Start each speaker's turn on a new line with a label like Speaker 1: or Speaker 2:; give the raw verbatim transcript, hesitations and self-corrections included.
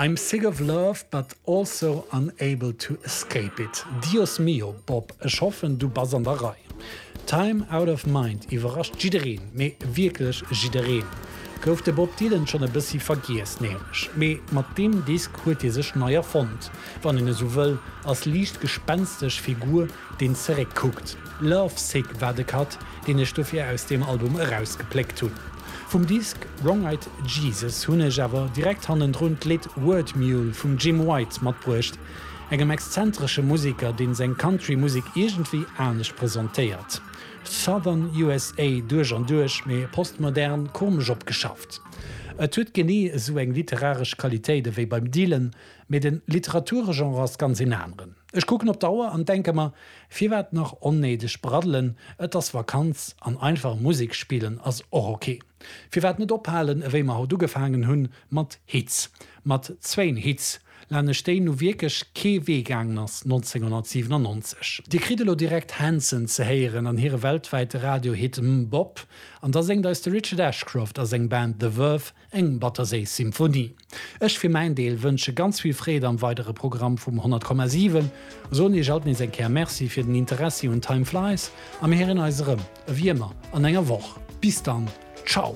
Speaker 1: I'm sick of love, but also unable to escape it. Dios mio, Bob, ech hoffen, du bass an der Rei. Time Out of Mind iwwerrascht jiddereen, mee wierklech jiddereen. Gouf de Bob Dylan schonn e bëssi vergiess nämlech. Mee mat deem Disk huet hie sech nei erfonnt, wann een esou wëll, als liicht gespenstesch Figur, deen zeréck kuckt. Love Sick war de Cut, deen ech dofir aus deem Album erausgepléckt hunn. Vum Disk Wrong Eyed Jesus hunn ech awer direkt hannendrun d'Lidd Word Mule vum Jim White matbruecht, engem exzentresche Museker, deen seng Country-Musek iergendwéi anescht presentéiert. Southern U S A duerch an duerch, mee postmodern komesch opgeschafft. Et huet genee esou eng literaresch Qualitéit ewéi beim Dylan, mee de Literaturgenre ass ganz en aneren. Ech kucken op d'Auer an denke mer, firwat nach onnéideg braddelen, et ass Vakanz an einfach Musek spillen ass och ok. Firwat net ophalen, ewéi mer haut ugefaangen hunn, mat Hits. Mat zwéin Hits, laanescht déi nu wierklech kee Wee gaangen ass nonzénghonnertsiwenannonzeg. Dir kritt elo direkt Hanson ze héieren an hire weltwäite Radiohit MMMBop, an da séngt eis de Richard Ashcroft a seng Band The Verve eng batterséiss Symphonie. Ech fir mäin Deel wënsche ganz vill Freed am weidere Programm vum honnert Komma siwen, soen iech alt nees eng Kéier Merci fir den Interessi un Time Flies a mir héieren eis erëm, ewéi ëmmer, an enger Woch. Bis dann, ciao!